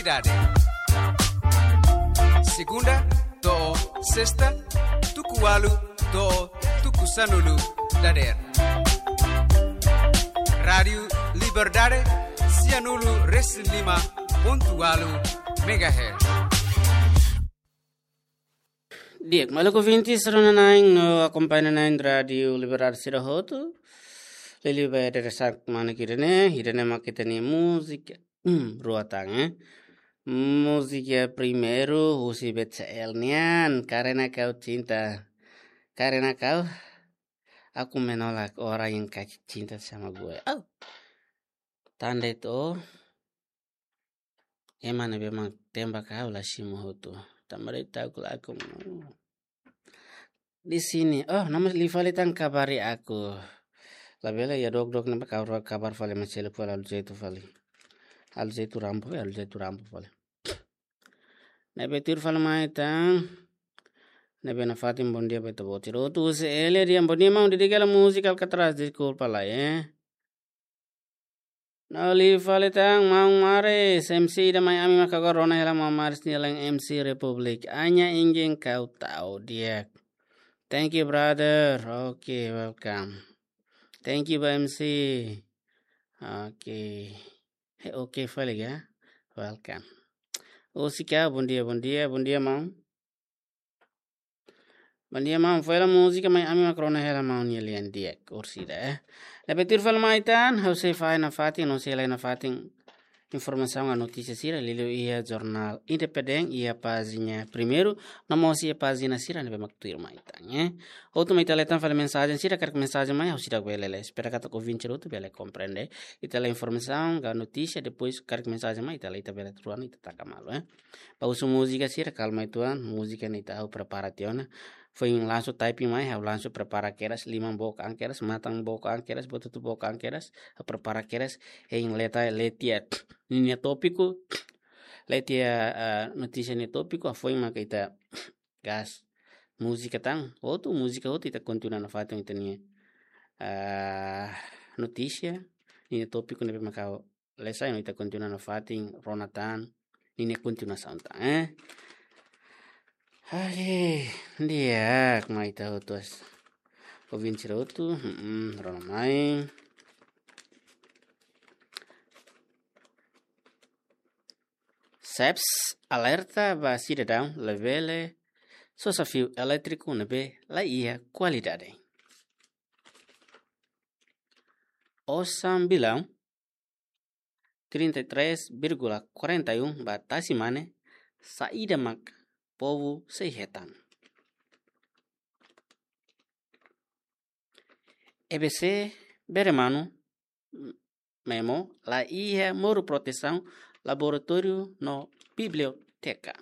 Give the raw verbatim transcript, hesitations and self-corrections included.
Liberdade. Segunda to'o sesta, tuku ualu to'o tuku sanulu dadeer. Rádiu Liberdade, sianulu resin lima pontu ualu megahertz. Di'ak, maluk ouvintes rona-na'in no akompaña na'in Rádiu Liberdade sira hotu. Liuliu ba ida-ne'e sak mana kira ne, ida-ne'e mak ita-nia múzika. Hmm, rua tan, eh. Múzika primeiru, husi B T L nian, Karena Kau Cinta. Karena kau, aku menolak orang yang kau cinta sama gue. Oh. Tanda itu, oh. Ema ne'ebé mak tembak ha'u la simu hotu. Tanba de'it ta'uk lakohi. Di sini, oh, no mós liu fali tan kabari aku. Labele iha dook-dook ne'ebá kabar, kabar fali, maseluk fali, halo jeitu fali. Halo jeitu rampa, halo jeitu rampa fali. Ne'ebé tuir fali mai tan. Ne'ebé nafatin bondia ba ita-boot sira hotu. Husi Elia Dian, bondia maun, dedika hela múzika Alcatraz, deskulpa lai, eh. No liu fali tan, maun Maris, M C ida mai ami mak agora rona hela maun Maris nia lain M C Republik. Hanya ingin kau tahu, di'ak. Thank you, brother. Okay, welcome. Thank you ba M C. Okay. He, okay fali ka? Welcome. Husik ka, bondia, bondia, bondia maun. Bondia maun, fó hela múzika mai ami mak rona hela maun nia lian, di'ak, orsida, eh. Ne'ebé tuir fali mai tan, ha'u sei fahe nafatin, no sei la'o nafatin informasaun ka notísia sira, liuliu iha jornál Independente, iha pájina primeiru, no mós iha pájina sira ne'ebé mak tuir mai tan, eh. Hotu mai ita lee tan fali mensajen sira, karik mensajen mai, ha'u seidauk bele lee. Espera katak ouvinte hotu bele komprende. Ita lee informasaun ka notísia, depois karik mensajen mai, ita lee, ita bele tuan, ita taka malu, eh. Ba husu múzika sira, kalma uitoan, múzika ne'e ita ha'u prepara tiha ona. Foin langsung typing mai, ha'u langsung prepara kedas, liman book an kedas, matan book an kedas, buat hotu book an kedas, ha'u prepara kedas, hein lee tiha, lee tiha ninia tópiku, lee tiha, eh, notísia nia tópiku, ha'u foin maka ita gas múzika tan, hotu múzika hotu ita kontinua nafatin ita-nia, eh, notísia, ninia tópiku ne'ebé maka lee sai no ita kontinua nafatin, rona tan, ninia kontinuasaun tan, eh. Oke, di'ak, mai ita hotu as. Ouvinte sira hotu, hmm, rona mai. SEBS alerta ba sidadaun labele sosa fiu elétriku ne'ebé la iha kualidade. Osan bilaun trinta e três vírgula quarenta e um ba tasi mane, saida mak povu sei hetan. E B C bere manu, MEMO, la iha moru protesaun, laboratóriu no biblioteka.